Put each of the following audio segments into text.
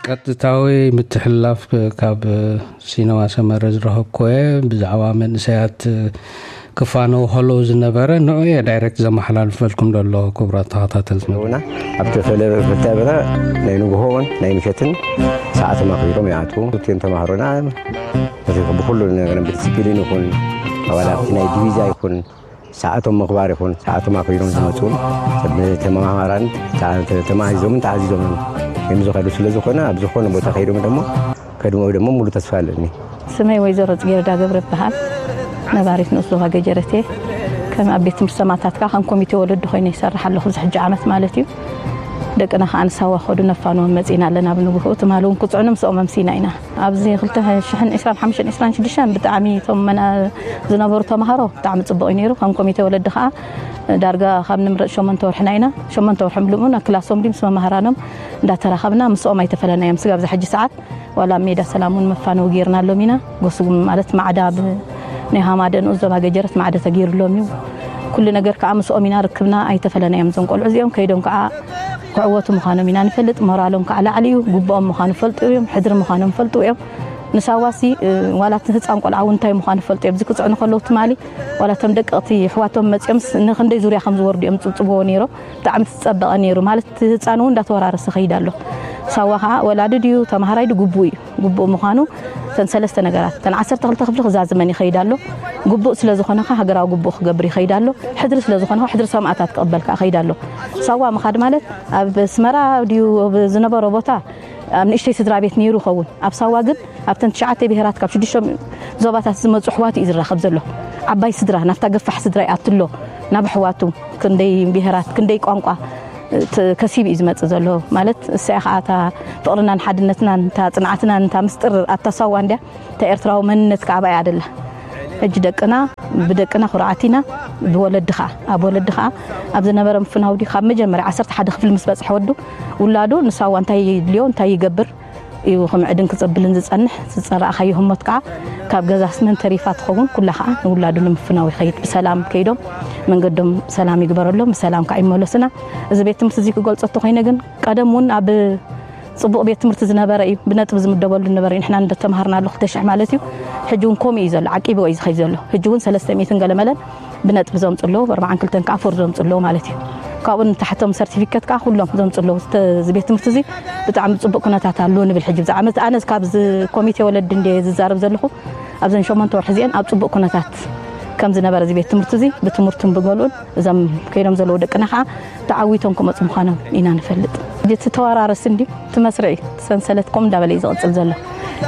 ቀጥታዊ ምትሕልላፍ ካብ ሲነማ ሰመረ ዝረኸብኩ እየ። ብዛዕባ መንእሰያት ክፋነው ከለዉ ዝነበረ ንዑ እየ ዳይሬክት ዘመሓላልፈልኩም ዘሎ። ክቡራት ተኸታተልቲ መደብ። ና ኣብቲ ፈለ ፍልታይ በታ ናይ ንግሆ እውን ናይ ምሸትን ሰዓቶም ኣኽቢሮም ይኣትዉ። እቲኦም ተማሃሮና ብኩሉ ነገር ብዲስፕሊን ይኹን ኣባላት ናይ ዲቪዛ ይኹን ሰዓቶም ምኽባር ይኹን ሰዓቶም ኣኽቢሮም ዝመፁን ተመሃራን ተማሂዞምን ተኣዚዞምን እዮም ዝኸዱ። ስለ ዝኾነ ኣብ ዝኾነ ቦታ ከይዶም ደሞ ከድምኡ ደሞ ሙሉ ተስፋ ኣለኒ። ስመይ ወይዘሮ ጽጌረዳ ገብረ ይበሃል። ነባሪት ንኡስ ዞባ ገጀረት እየ። ከም ኣብ ቤት ትምህርቲ ሰማእታት ከዓ ከም ኮሚቴ ወለዲ ኮይነ ይሰርሕ ኣለኹ። እዚ ሕጂ ዓመት ማለት እዩ። ደቅና ከዓ ንሳዋ ከዱ ነፋንዎም መጺና ኣለና። ኣብ ንግሆ ትማሊ እውን ክጽዕኑ ምስኦም ኣምሲና ኢና። ኣብዚ ክልተ ሽሕን ዕስራን ሓሙሽተን ዕስራን ሽዱሽተን ብጣዕሚ እቶም መና ዝነበሩ ተምሃሮ ብጣዕሚ ጽቡቕ እዩ ነይሩ። ከም ኮሚቴ ወለዲ ከዓ ዳርጋ ካብ ንምረጽ ሸሞንተ ወርሕና ኢና። ሸሞንተ ወርሒ ምሉእ ናብ ክላሶም ድዩ ምስ መማህራኖም እንዳተራኸብና ምስኦም ኣይተፈለናዮም። ስጋብ ዛ ሕጂ ሰዓት ዋላ ኣብ ሜዳ ሰላም እውን መፋነዊ ጌርናሎም ኢና። ጎስጉም ማለት ማዕዳ ብ-፣ ናይ ሃማደ ንኡስ ዞባ ገጀረት ማዕደ ተገይሩሎም እዩ። ኩሉ ነገር ከዓ ምስኦም ኢና ርክብና ኣይተፈለናዮም። እዞም ቆልዑ እዚኦም ከይዶም ከዓ ክዕወቱ ምዃኖም ኢና ንፈልጥ። ሞራሎም ከዓ ላዕሊ እዩ። ግቡኦም ምዃኑ ፈልጡ እዮም። ሕድሪ ምዃኖም ፈልጡ እዮም። ንሳዋሲ፣ እ፣ ዋላ እቲ ህፃን ቆልዓ እውን እንታይ ምዃኑ ፈልጡ እዮም። እዚ ክፅዕኑ ከለዉ ትማሊ ዋላ እቶም ደቀቕቲ ኣሕዋቶም መፂኦምስ ንክንደይ ዙርያ ከም ዝወርዱ እዮም ፅብፅብዎ ነይሮም። ብጣዕሚ ዝፀበቐ ነይሩ። ማለት እቲ ህፃን እውን እንዳተወራረሰ ከይድ ኣሎ። ሳዋ ከዓ ወላዲ ድዩ ተምሃራይ ድዩ ግቡእ እዩ። ግቡእ ምዃኑ እተን ሰለስተ ነገራት፣ እተን ዓሰርተ ክልተ ክፍሊ ክዛዝመን ይኸይድ ኣሎ። ግቡእ ስለ ዝኾነ ከዓ ሃገራዊ ግቡእ ክገብር ይኸይድ ኣሎ። ሕድሪ ስለ ዝኾነ ከዓ ሕድሪ ሰማእታት ክቕበል ከዓ ይኸይድ ኣሎ። ሳዋ ምኻድ ማለት ኣብ ኣስመራ ድዩ ኣብ ዝነበሮ ቦታ ኣብ ንእሽተይ ስድራ ቤት ነይሩ ይኸውን። ኣብ ሳዋ ግን ኣብተን ትሽዓተ ብሄራት ካብ ሽዱሽተ ዞባታት ዝመፁ ኣሕዋት እዩ ዝራኸብ ዘሎ። ዓባይ ስድራ፣ ናብታ ገፋሕ ስድራ ይኣቱ ኣሎ። ናብ ኣሕዋቱ ክንደይ ብሄራት፣ ክንደይ ቋንቋ፣ እ፣ ት-፣ ከሲቡ እዩ ዝመጽእ ዘሎ። ማለት እሳያ ኸዓ እታ ፍቕርናን ሓድነትናን፣ እታ ጽንዓትናን፣ እታ ምስጢር ኣታ ሳዋ እንድያ፣ እታ ኤርትራዊ መንነት ከዓ ኣብኣ እያ ደላ። ሕጂ ደቅና፣ ብደቅና ኩርዓት ኢና፣ ብወለዲ ኸዓ፣ ኣብ ወለዲ ኸዓ፣ ኣብ ዝነበረ ምፍናው ድዩ፣ ካብ መጀመርያ ዓሰርተ ሓደ ክፍሊ ምስ በጽሐ ወዱ፣ ውላዱ ንሳዋ እንታይ ይድልዮ፣ እንታይ ይገብር፣ እዩ ክምዕድን ክጽብልን ዝጸንሕ። ዝጸራእካዮ ህሞት ከኣ ካብ ገዛስ መን ተሪፋ ትኸውን፣ ኩላ ከኣ ንውላዱ ንምፍናው ይኸይድ። ብሰላም ከይዶም መንገዶም ሰላም ይግበረሎም፣ ብሰላም ከኣ ይመለሱና። እዚ ቤት ትምህርቲ እዚ ክገልጾ እንተኾይነ ግን ቀደም እውን ኣብ ጽቡቕ ቤት ትምህርቲ ዝነበረ እዩ፣ ብነጥቢ ዝምደበሉ ዝነበረ እዩ። ንሕና እንደ ተምሃርናሉ ክልተ ሽሕ ማለት እዩ። ሕጂ እውን ከምኡ እዩ ዘሎ፣ ዓቂብዎ እዩ ዝኸይድ ዘሎ። ሕጂ እውን ሰለስተ ሚእትን ገለ መለን ብነጥቢ ዘምጽኡ ኣለዉ፣ ብኣርባዓን ክልተን ከኣ ፎር ዘምጽኡ ኣለዉ ማለት እዩ። ካብኡ ንታሕቶም ሰርቲፊኬት ከኣ ኩሎም ዘምጽኡ ኣለዉ። ዝተ-፣ እዚ ቤት ትምህርቲ እዚ ብጣዕሚ ጽቡቕ ኩነታት ኣሎ ንብል። ሕጂ ብዛዕባ መት-፣ ኣነ ካብዚ ኮሚቴ ወለዲ እንድየ ዝዛረብ ዘለኹ፣ ኣብዘን ሸሞንተ ወርሒ እዚአን ኣብ ጽቡቕ ኩነታት ከም ዝነበረ እዚ ቤት ትምህርቲ እዚ ብትምህርቱን ብገልኡን እዞም ከይዶም ዘለዉ ደቅና ከኣ ተዓዊቶም ክመጹ ምዃኖም ኢና ንፈልጥ። እቲ ተወራረሲ እንድዩ፣ እቲ መስርዕ እዩ፣ እቲ ሰንሰለት ከምኡ እንዳበለ እዩ ዝቕጽል ዘሎ።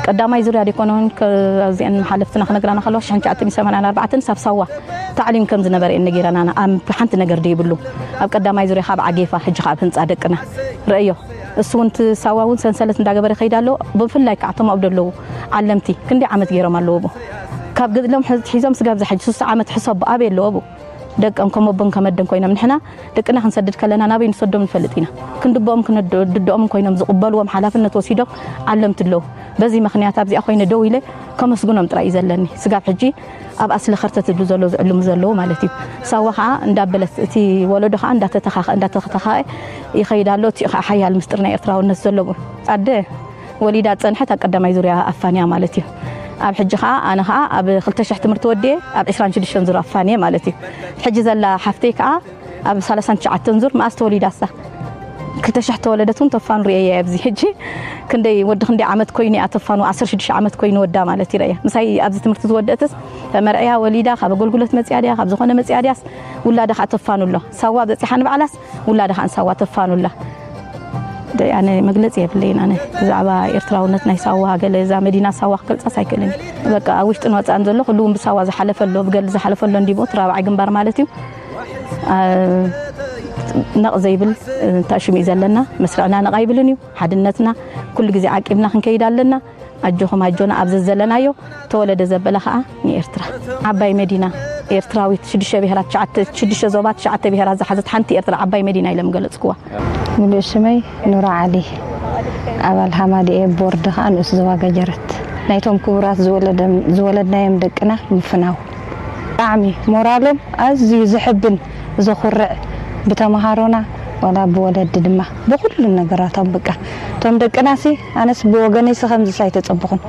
ቀዳማይ ዙርያ ደይኮነ እውን ከ-፣ ኣብዚአን ሓለፍትና ክነግራና ከለዋ፣ ሽሕን ትሽዓተ ሚእትን ሰማንያን ኣርባዕተን ሳብ ሳዋ ታዕሊም ከም ዝነበረ እየን ነጊረናና። ኣብ ሓንቲ ነገር ደይብሉ። ኣብ ቀዳማይ ዙርያ ካብ ዓጌፋ፣ ሕጂ ካብ ህንጻ ደቅና። ረእዮ። እሱ እውን እቲ ሳዋ እውን ሰንሰለት እንዳገበረ ይኸይድ ኣሎ። ብፍላይ ከዓ እቶም ኣብኡ ዘለዉ ዓለምቲ ክንደይ ዓመት ገይሮም ኣለዉ ኣብኡ። ካብ ገድሎም ሕዝ-፣ ሒዞም ስጋብ ዝሓጂ ሱሳ ዓመት ሕሰቡ ኣበይ ኣለዉ ኣብኡ። ደቀም ከም ኣቦን ከም ኣደን ኮይኖም ንሕና ደቅና ክንሰድድ ከለና ናበይ ንሰዶም ንፈልጥ ኢና። ክንድብኦም ክንድ-፣ ድድኦምን ኮይኖም ዝቕበልዎም ሓላፍነት ወሲዶም ዓለምቲ ኣለዉ። በዚ ምኽንያት ኣብዚኣ ኮይነ ደው ኢለ ከመስግኖም ጥራይ እዩ ዘለኒ። ስጋብ ሕጂ ኣብ ኣስሊ ከርተት ዝብሉ ዘለዉ ዝዕልሙ ዘለዉ ማለት እዩ። ሳዋ ኸዓ እንዳበለት እቲ ወለዶ ኸዓ እንዳተተኻኸ-፣ እንዳተተኻኸ ይኸይድ ኣሎ። እቲኡ ኸዓ ሓያል ምስጢር ናይ ኤርትራውነት ዘለዎ ኣደ ወሊዳ ዝጸንሐት ኣብ ቀዳማይ ዙርያ ኣፋንያ ማለት እዩ። ኣብ ሕጂ ኸዓ ኣነ ኸዓ ኣብ ክልተ ሽሕ ትምህርቲ ወዲኤ ኣብ ዕስራን ሽዱሽተን ዙር ኣፋንየ ማለት እዩ። ሕጂ ዘላ ሓፍተይ ከኣ ኣብ ሰላሳን ትሽዓተን ዙር መኣስ ተወሊዳ እሳ? ክልተ ሽሕ ተወለደት እውን ተፋኑ ርእየያ ኣብዚ። ሕጂ ክንደይ ወዲ ክንደይ ዓመት ኮይኑ እያ ተፋኑ? ዓሰርተ ሽዱሽተ ዓመት ኮይኑ ወዳ ማለት ይረእያ። ምሳይ ኣብዚ ትምህርቲ ዝወደእትስ ተመርዕያ ወሊዳ ካብ ኣገልግሎት መጽያ ድያ ካብ ዝኾነ መጽያ ድያስ ውላዳ ከኣ ተፋኑ ኣሎ። ሳዋ በጺሓ ንባዕላስ ውላዳ ከኣ ንሳዋ ተፋኑ ኣላ። ደይ ኣነ መግለጺ የብለይን። ኣነ ብዛዕባ ኤርትራውነት ናይ ሳዋ ገለ እዛ መዲና ሳዋ ክገልጻስ ኣይክእልን። በቃ ኣብ ውሽጥን ወጻእን ዘሎ ኩሉ እውን ብሳዋ ዝሓለፈ ኣሎ፣ ብገድሊ ዝሓለፈ ኣሎ እንዲቦ እቲ ራብዓይ ግንባር ማለት እዩ። አ፣ ነቕ ዘይብል እንታሽሙ እዩ ዘለና። መስርዕና ነቕ ኣይብልን እዩ። ሓድነትና ኩሉ ግዜ ዓቂብና ክንከይድ ኣለና። ኣጆኹም ኣጆና ኣብ ዘዘለናዮ ተወለደ ዘበለ ኸኣ ንኤርትራ። ዓባይ መዲና ኤርትራዊት ሽዱሽተ ብሄራት ትሽዓተ፣ ሽዱሽተ ዞባ ትሽዓተ ብሄራት ዝሓዘት ሓንቲ ኤርትራ ዓባይ መዲና ኢሎም ገለጽክዋ። ምሉእ ሽመይ ኑራ ዓሊ፣ ኣባል ሃማደኤ፣ ቦርድ ኸኣ ንኡስ ዞባ ገጀረት። ናይቶም ክቡራት ዝወለደም-፣ ዝወለድናዮም ደቅና ምፍናው ብጣዕሚ ሞራሎም ኣዝዩ ዘሕብን ዘኹርዕ፣ ብተምሃሮና ዋላ ብወለዲ ድማ ብኩሉ ነገራቶም በቃ እቶም ደቅናሲ ኣነስ ብወገነይሲ ከምዚስ ኣይተጸበኹን።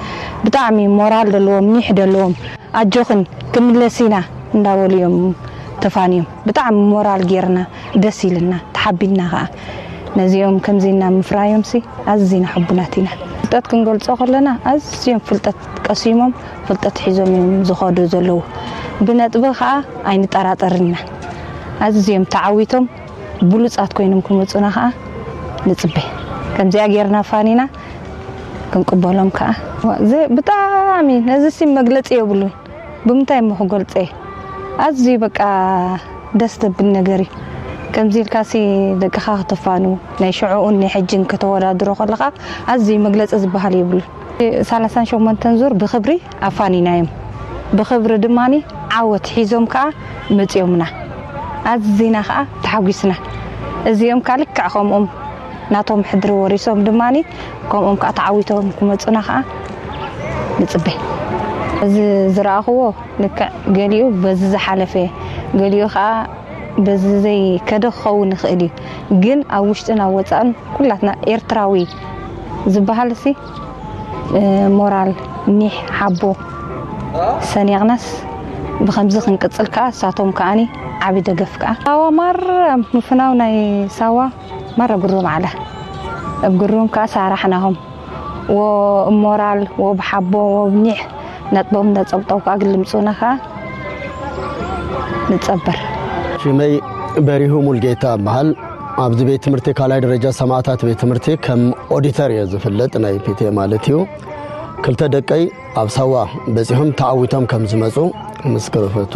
ብጣዕሚ ሞራል ዘለዎም፣ ኒሕ ዘለዎም፣ ኣጆኽን ክንምለስ ኢና እንዳበሉ እዮም ተፋንዮም። ብጣዕሚ ሞራል ጌርና፣ ደስ ኢልና፣ ተሓቢንና ከኣ። ነዚኦም ከምዚና ምፍራዮምሲ ኣዝና ሕቡናት ኢና። ፍልጠት ክንገልጾ ከለና ኣዝዮም ፍልጠት ቀሲሞም፣ ፍልጠት ሒዞም እዮም ዝኸዱ ዘለዉ። ብነጥቢ ከኣ ኣይንጠራጠርና። ኣዝዮም ተዓዊቶም ብሉጻት ኮይኖም ክመጹና ከኣ ንጽበ። ከምዚኣ ጌርና ፋኒና ክንቅበሎም ከኣ። እዚ ብጣዕሚ ነዚሲ መግለጺ የብሉን። ብምንታይ እሞ ክገልጸ? ኣዝዩ በቃ ደስ ዘብል ነገር እዩ። ከምዚ ኢልካሲ ደቅኻ ከተፋኑ፣ ናይ ሽዑኡን ናይ ሕጅን ከተወዳድሮ ከለኻ ኣዝዩ መግለጺ ዝበሃል የብሉን። ሰላሳን ሸሞንተን ዙር ብኽብሪ ኣፋኒናዮም። ብኽብሪ ድማኒ ዓወት ሒዞም ከኣ መጺኦምና። ኣዝና ከኣ ተሓጒስና። እዚኦም ከኣ ልክዕ ከምኦም ናቶም ሕድሪ ወሪሶም ድማኒ ከምኦም ከኣ ተዓዊቶም ክመጹና ከኣ ንጽበ። እዚ ዝረኣኽዎ ልክዕ ገሊኡ በዚ ዝሓለፈ፣ ገሊኡ ከኣ በዚ ዘይከደ ክኸውን ይኽእል እዩ። ግን ኣብ ውሽጥን ኣብ ወጻእን ኩላትና ኤርትራዊ ዝበሃልሲ፣ እ፣ ሞራል፣ ኒሕ፣ ሓቦ ሰኒቕናስ ብኸምዚ ክንቅጽል ከኣ እሳቶም ከኣኒ ዓቢ ደገፍ ከኣ። ሳዋ ማራ ምፍናው ናይ ሳዋ ማራ ግሩም ዓላ። ኣብ ግሩም ከኣ ሳራሕናሆም። ወ ሞራል፣ ወብ ሓቦ፣ ወብ ኒሕ ነጥቦም ነጸብጠው ከኣ ግልምጹና ከኣ ንጸበር። ሽመይ በሪሁ ሙልጌታ እበሃል። ኣብዚ ቤት ትምህርቲ ካልኣይ ደረጃ ሰማእታት ቤት ትምህርቲ ከም ኦዲተር እየ ዝፍለጥ፣ ናይ ፒቴ ማለት እዩ። ክልተ ደቀይ ኣብ ሳዋ በጺሖም ተዓዊቶም ከም ዝመጹ ምስክር እፈቱ።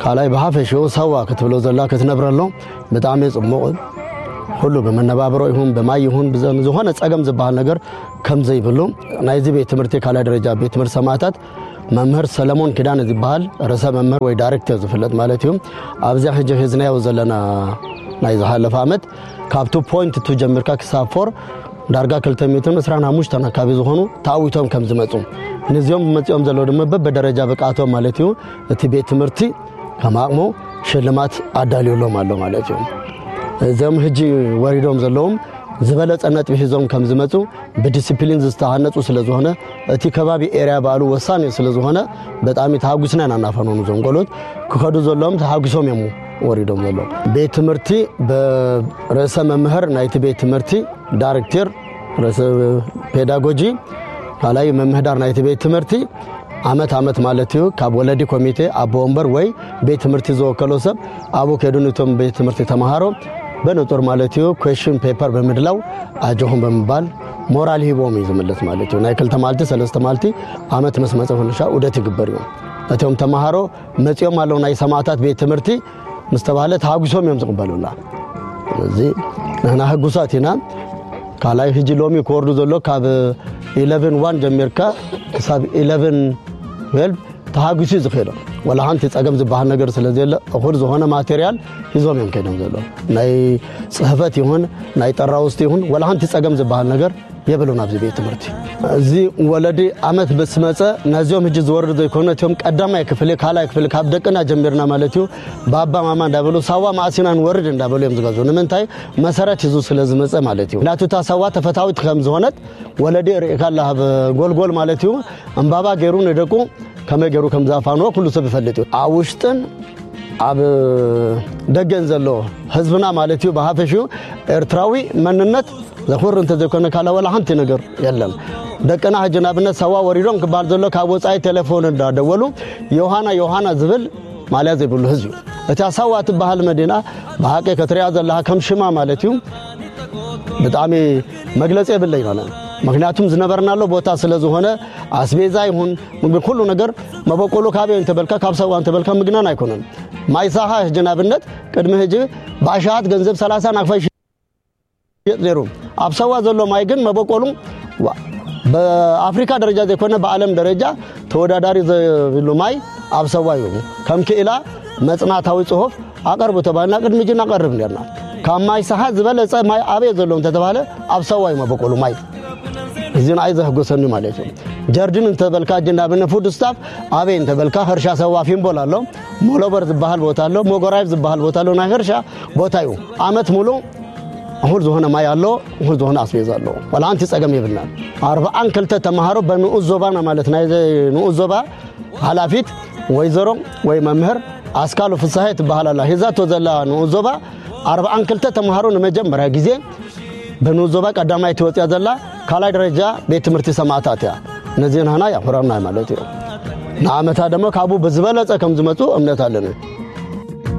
ካልኣይ ብሓፈሽኡ ሳዋ ክትብሎ ዘላ ክትነብረሎ ብጣዕሚ ጽቡቕ፣ ኩሉ ብመነባብሮ ይኹን ብማይ ይኹን ብዘ-፣ ዝኾነ ጸገም ዝበሃል ነገር ከም ዘይብሉ ናይዚ ቤት ትምህርቲ ካልኣይ ደረጃ ቤት ትምህርቲ ሰማእታት መምህር ሰለሞን ኪዳነ ዝበሃል ርእሰ መምህር ወይ ዳይሬክተር ዝፍለጥ ማለት እዩ። ኣብዚኣ ሕጂ ሒዝናዮ ዘለና ናይ ዝሓለፈ ዓመት ካብ ቱ ፖይንት ቱ ጀሚርካ ክሳብ ፎር ዳርጋ ክልተ ሚእትን ዕስራን ሓሙሽተን ኣካባቢ ዝኾኑ ተዓዊቶም ከም ዝመጹ፣ ነዚኦም መጺኦም ዘለዉ ድማ በብደረጃ ብቕዓቶም ማለት እዩ እቲ ቤት ትምህርቲ ከም ኣቕሙ ሽልማት ኣዳልዩሎም ኣሎ ማለት እዩ። እዞም ሕጂ ወሪዶም ዘለዎም ዝበለጸ ነጥቢ ሒዞም ከም ዝመጹ ብዲሲፕሊን ዝተሃነጹ ስለ ዝኾነ እቲ ከባቢ ኤርያ ባዕሉ ወሳኒ ስለ ዝኾነ ብጣዕሚ ተሃጉስና ኢና እናፈነኑ እዞም ቆልዑት ክኸዱ ዘለዎም ተሃጉሶም እዮም ወሪዶም ዘለዉ። ቤት ትምህርቲ ብርእሰ መምህር ናይቲ ቤት ትምህርቲ ዳይሬክተር ርእሰ ፔዳጎጂ ካልኣይ መምህዳር ናይቲ ቤት ትምህርቲ ዓመት ዓመት ማለት እዩ ካብ ወለዲ ኮሚቴ ኣቦ ወንበር ወይ ቤት ትምህርቲ ዝወከሎ ሰብ ኣብኡ ከይዱ ነቶም ቤት ትምህርቲ ተምሃሮ ብንጹር ማለት እዩ ኩዌሽን ፔፐር ብምድላው ኣጆኹም ብምባል ሞራል ሂቦም እዩ ዝምለስ ማለት እዩ። ናይ ክልተ መዓልቲ ሰለስተ መዓልቲ ዓመት ምስ መጸ ፍንሻ ዑደት ይግበር እዩ። እቶም ተምሃሮ መጺኦም ኣለዉ ናይ ሰማእታት ቤት ትምህርቲ ምስ ተባህለ ተሃጉሶም እዮም ዝቕበሉና። ስለዚ ንሕና ህጉሳት ኢና። ካልኣይ ሕጂ ሎሚ ክወርዱ ዘሎ ካብ ኢለቨን ዋን ጀሚርካ ክሳብ ኢለቨን ትዌልቭ ተሃጉሱ እዩ ዝኸይዶም። ወላ ሓንቲ ጸገም ዝበሃል ነገር ስለ ዘየለ እኹል ዝኾነ ማቴሪያል ሒዞም እዮም ከይዶም ዘለዉ። ናይ ጽሕፈት ይኹን ናይ ጠራውስቲ ይኹን ወላ ሓንቲ ጸገም ዝበሃል ነገር የብሉን ኣብዚ ቤት ትምህርቲ። እዚ ወለዲ ዓመት ምስ መጸ ነዚኦም ሕጂ ዝወርዱ ዘይኮነ እቲኦም ቀዳማይ ክፍሊ ካልኣይ ክፍሊ ካብ ደቅና ጀሚርና ማለት እዩ ባባ ማማ እንዳበሉ ሳዋ መዓስ ኢና ንወርድ እንዳበሉ እዮም ዝገዙ። ንምንታይ? መሰረት ሒዙ ስለ ዝመጸ ማለት እዩ። ምክንያቱ እታ ሳዋ ተፈታዊት ከም ዝኾነት ወለዲ ርእካ ኣለካ ኣብ ጎልጎል ማለት እዩ ዕምባባ ገይሩ ንደቁ ከመይ ገይሩ ከም ዝኣፋንዎ ኩሉ ሰብ ይፈልጥ እዩ። ኣብ ውሽጥን ኣብ ደገን ዘሎ ህዝብና ማለት እዩ ብሓፈሽኡ ኤርትራዊ መንነት ዘኹር እንተዘይኮነ ካልእ ወላ ሓንቲ ነገር የለን። ደቅና ሕጂ ንኣብነት ሳዋ ወሪዶም ክበሃል ዘሎ ካብ ወጻኢ ቴሌፎን እንዳደወሉ ዮሃና ዮሃና ዝብል ማልያ ዘይብሉ ህዝቢ እዩ። እታ ሳዋ ትበሃል መዲና ብሓቂ ክትሪኣ ዘለኻ ከም ሽማ ማለት እዩ ብጣዕሚ መግለጺ የብለይ ማለት ምክንያቱም ዝነበርናሎ ቦታ ስለ ዝኾነ ኣስቤዛ ይኹን ምግቢ ኩሉ ነገር መበቆሉ ካበይ እንተበልካ ካብ ሳዋ እንተበልካ ምግናን ኣይኮነን። ማይ ሳኻ ሕጂ ንኣብነት ቅድሚ ሕጂ ብኣሽሓት ገንዘብ ሰላሳ ናቕፋ ይሽየጥ ነይሩ። ኣብ ሳዋ ዘሎ ማይ ግን መበቆሉ ዋ- በኣፍሪካ ደረጃ ዘይኮነ ብዓለም ደረጃ ተወዳዳሪ ዘይብሉ ማይ ኣብ ሳዋ እዩ። ከም ክኢላ መጽናዕታዊ ጽሑፍ ኣቐርቡ ተባሂልና ቅድሚ ሕጂ እናቐርብ ነርና። ካብ ማይ ሳሓ ዝበለጸ ማይ ኣበይ ዘሎ እንተተባህለ ኣብ ሳዋ እዩ መበቆሉ ማይ። እዚ ንዓይ ዘሕጉሰኒ ማለት እዩ። ጀርዲን እንተበልካ ሕጂ ንኣብነት ፉድ ስታፍ ኣበይ እንተበልካ ሕርሻ ሳዋ ፊምቦል ኣሎ፣ ሞሎበር ዝበሃል ቦታ ኣሎ፣ ሞጎራይብ ዝበሃል ቦታ ኣሎ። ናይ ሕርሻ ቦታ እዩ። ዓመት ሙሉ እኹል ዝኾነ ማይ ኣሎ፣ እኹል ዝኾነ ኣስቤዛ ኣሎ። ዋላ ሓንቲ ጸገም የብልናን። ኣርብዓን ክልተ ተምሃሮ በንኡስ ዞባና ማለት ናይ ንኡስ ዞባ ሓላፊት ወይዘሮ ወይ መምህር ኣስካሉ ፍሳሐ ትበሃል ኣላ። ሒዛቶ ዘላ ንኡስ ዞባ ኣርብዓን ክልተ ተምሃሮ ንመጀመርያ ግዜ በንኡስ ዞባ ቀዳማይ ትወፅያ ዘላ ካልኣይ ደረጃ ቤት ትምህርቲ ሰማእታት እያ። ነዚ ንህና ያኹረና ማለት እዩ። ንዓመታ ደሞ ካብኡ ብዝበለጸ ከም ዝመፁ እምነት ኣለኒ።